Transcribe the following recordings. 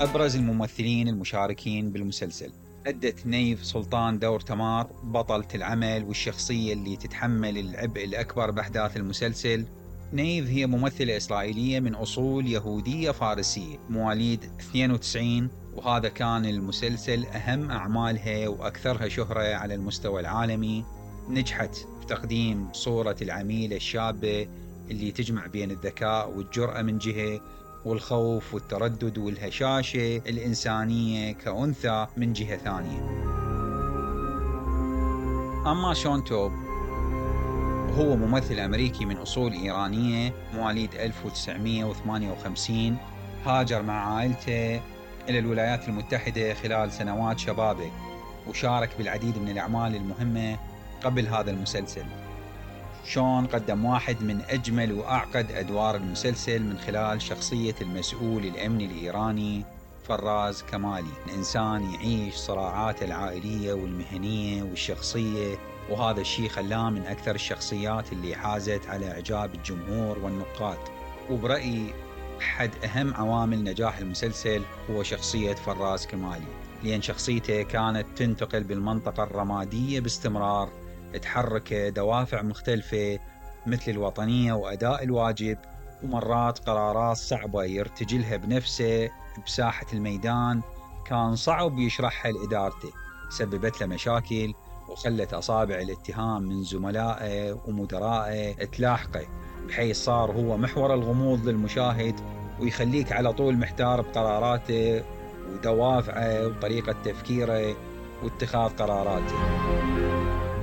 أبرز الممثلين المشاركين بالمسلسل: أدت نيف سلطان دور تمار بطلة العمل والشخصية اللي تتحمل العبء الأكبر بأحداث المسلسل. نيف هي ممثلة إسرائيلية من أصول يهودية فارسية، مواليد 92، وهذا كان المسلسل أهم أعمالها وأكثرها شهرة على المستوى العالمي. نجحت بتقديم صورة العميلة الشابة اللي تجمع بين الذكاء والجرأة من جهة، والخوف والتردد والهشاشة الإنسانية كأنثى من جهة ثانية. أما شون توب هو ممثل أمريكي من أصول إيرانية، مواليد 1958، هاجر مع عائلته إلى الولايات المتحدة خلال سنوات شبابه، وشارك بالعديد من الأعمال المهمة قبل هذا المسلسل. شون قدم واحد من أجمل وأعقد أدوار المسلسل من خلال شخصية المسؤول الأمني الإيراني فراز كمالي، إنسان يعيش صراعاته العائلية والمهنية والشخصية، وهذا الشيء خلاه من أكثر الشخصيات اللي حازت على إعجاب الجمهور والنقاد. وبرأيي أحد أهم عوامل نجاح المسلسل هو شخصية فراز كمالي، لأن شخصيته كانت تنتقل بالمنطقة الرمادية باستمرار، تحرك دوافع مختلفة مثل الوطنية وأداء الواجب، ومرات قرارات صعبة يرتجلها بنفسه بساحة الميدان كان صعب يشرحها لإدارته، سببت له مشاكل وخلت أصابع الاتهام من زملائه ومدرائه تلاحقه، بحيث صار هو محور الغموض للمشاهد، ويخليك على طول محتار بقراراته ودوافعه وطريقة تفكيره واتخاذ قراراته.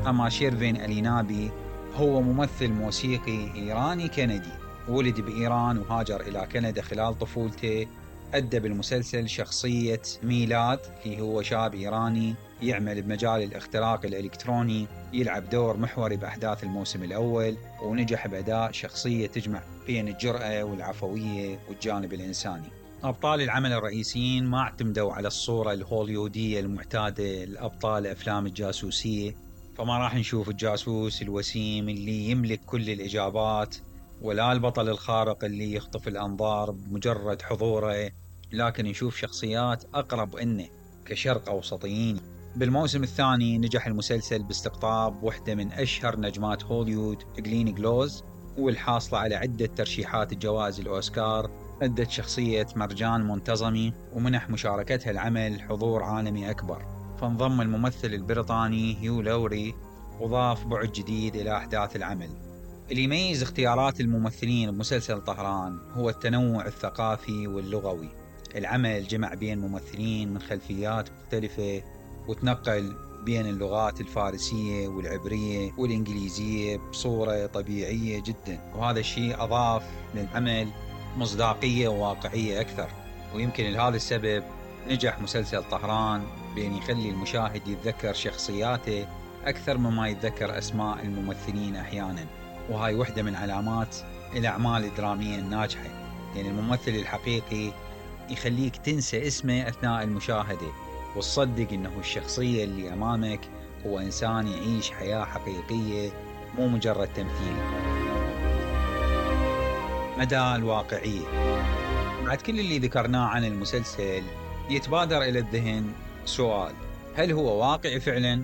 أما شيرفين ألينابي هو ممثل موسيقي إيراني كندي، ولد بإيران وهاجر إلى كندا خلال طفولته. أدى بالمسلسل شخصية ميلاد، اللي هو شاب إيراني يعمل بمجال الاختراق الإلكتروني، يلعب دور محوري بأحداث الموسم الأول، ونجح بأداء شخصية تجمع بين الجرأة والعفوية والجانب الإنساني. أبطال العمل الرئيسيين ما اعتمدوا على الصورة الهوليودية المعتادة لأبطال أفلام الجاسوسية، فما راح نشوف الجاسوس الوسيم اللي يملك كل الإجابات، ولا البطل الخارق اللي يخطف الأنظار بمجرد حضوره، لكن نشوف شخصيات أقرب إنه كشرق أوسطيين. بالموسم الثاني نجح المسلسل باستقطاب واحدة من أشهر نجمات هوليوود، جلين جلوز، والحاصلة على عدة ترشيحات الجوائز الأوسكار. أدت شخصية مرجان منتظمي، ومنح مشاركتها العمل حضور عالمي أكبر. فانضم الممثل البريطاني هيو لوري، وضاف بعد جديد إلى أحداث العمل. اللي يميز اختيارات الممثلين بمسلسل طهران هو التنوع الثقافي واللغوي. العمل جمع بين ممثلين من خلفيات مختلفة، وتنقل بين اللغات الفارسية والعبرية والإنجليزية بصورة طبيعية جدا، وهذا الشيء أضاف للعمل مصداقية وواقعية أكثر. ويمكن لهذا السبب نجح مسلسل طهران بأن يخلي المشاهد يتذكر شخصياته أكثر مما يتذكر أسماء الممثلين أحيانا، وهاي وحدة من علامات الأعمال الدرامية الناجحة، لأن الممثل الحقيقي يخليك تنسى اسمه أثناء المشاهدة، وتصدق أنه الشخصية اللي أمامك هو إنسان يعيش حياة حقيقية مو مجرد تمثيل. مدى الواقعية. بعد كل اللي ذكرناه عن المسلسل يتبادر إلى الذهن سؤال: هل هو واقعي فعلا؟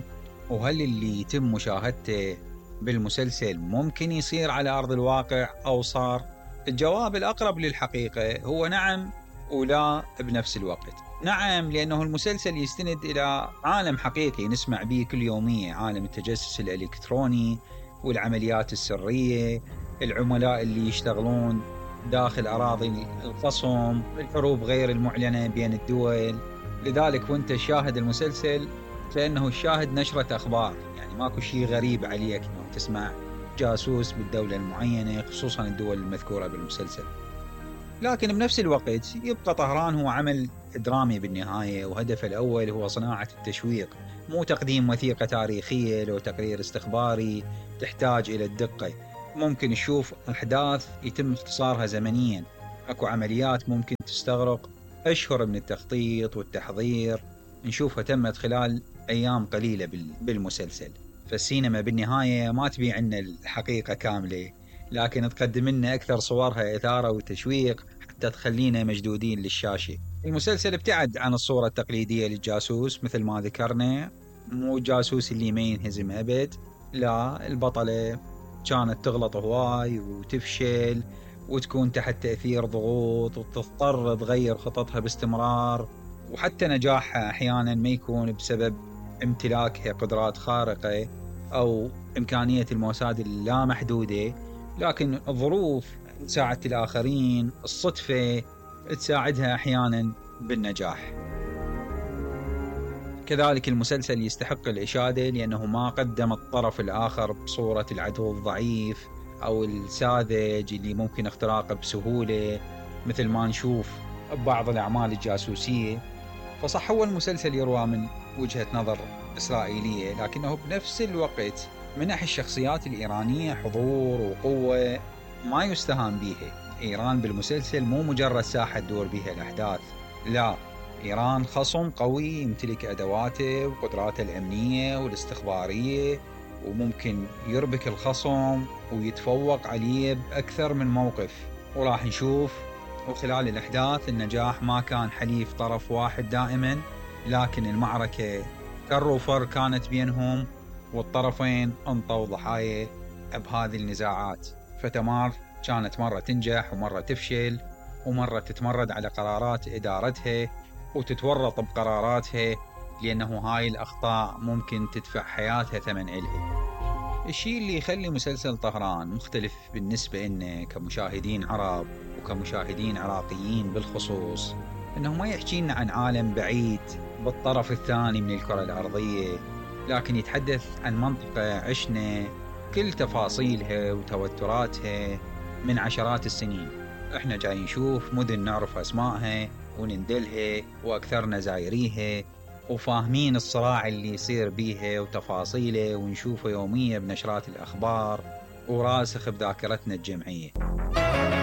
وهل اللي يتم مشاهدته بالمسلسل ممكن يصير على أرض الواقع أو صار؟ الجواب الأقرب للحقيقة هو نعم ولا بنفس الوقت. نعم، لأنه المسلسل يستند إلى عالم حقيقي نسمع به كل يومية، عالم التجسس الإلكتروني والعمليات السرية، العملاء اللي يشتغلون داخل أراضي الخصم، الحروب غير المعلنة بين الدول. لذلك وانت شاهد المسلسل كأنه الشاهد نشرة أخبار، يعني ماكو شيء غريب عليك انه تسمع جاسوس بالدولة المعينة، خصوصا الدول المذكورة بالمسلسل. لكن بنفس الوقت يبقى طهران هو عمل درامي بالنهاية، وهدفه الأول هو صناعة التشويق، مو تقديم وثيقة تاريخية لو تقرير استخباري تحتاج إلى الدقة. ممكن نشوف أحداث يتم اختصارها زمنيا، أكو عمليات ممكن تستغرق أشهر من التخطيط والتحضير، نشوفها تمت خلال أيام قليلة بالمسلسل. فالسينما بالنهاية ما تبيع عنا الحقيقة كاملة، لكن تقدم لنا أكثر صورها إثارة وتشويق حتى تخلينا مشدودين للشاشة. المسلسل ابتعد عن الصورة التقليدية للجاسوس مثل ما ذكرنا، مو الجاسوس اللي ما ينهزم أبد، لا، البطلة كانت تغلط هواي وتفشل وتكون تحت تأثير ضغوط وتضطر تغير خططها باستمرار، وحتى نجاحها أحيانا ما يكون بسبب امتلاكها قدرات خارقة أو إمكانية المواساة اللامحدودة، لكن الظروف، مساعدة الآخرين، الصدفة تساعدها أحيانا بالنجاح. كذلك المسلسل يستحق الإشادة لأنه ما قدم الطرف الآخر بصورة العدو الضعيف أو الساذج اللي ممكن اختراقه بسهولة مثل ما نشوف ببعض الأعمال الجاسوسية. فصح هو المسلسل يروى من وجهة نظر إسرائيلية، لكنه بنفس الوقت منح الشخصيات الإيرانية حضور وقوة ما يستهان بيها. إيران بالمسلسل مو مجرد ساحة تدور بها الأحداث، لا، إيران خصم قوي يمتلك أدواته وقدراته الأمنية والاستخبارية، وممكن يربك الخصم ويتفوق عليه بأكثر من موقف. وراح نشوف وخلال الأحداث النجاح ما كان حليف طرف واحد دائما، لكن المعركة كر وفر كانت بينهم، والطرفين انطوا ضحايا بهذه النزاعات. فتمار كانت مرة تنجح ومرة تفشل، ومرة تتمرد على قرارات إدارتها وتتورط بقراراتها، لأنه هاي الأخطاء ممكن تدفع حياتها ثمن إلها. الشيء اللي يخلي مسلسل طهران مختلف بالنسبة لنا كمشاهدين عرب وكمشاهدين عراقيين بالخصوص، أنه ما يحكينا عن عالم بعيد بالطرف الثاني من الكرة الأرضية، لكن يتحدث عن منطقة عشنا كل تفاصيلها وتوتراتها من عشرات السنين. احنا جاي نشوف مدن نعرف أسمائها ونندلها وأكثرنا زايريها، وفاهمين الصراع اللي يصير بيها وتفاصيله ونشوفه يوميا بنشرات الأخبار وراسخ بذاكرتنا الجمعية.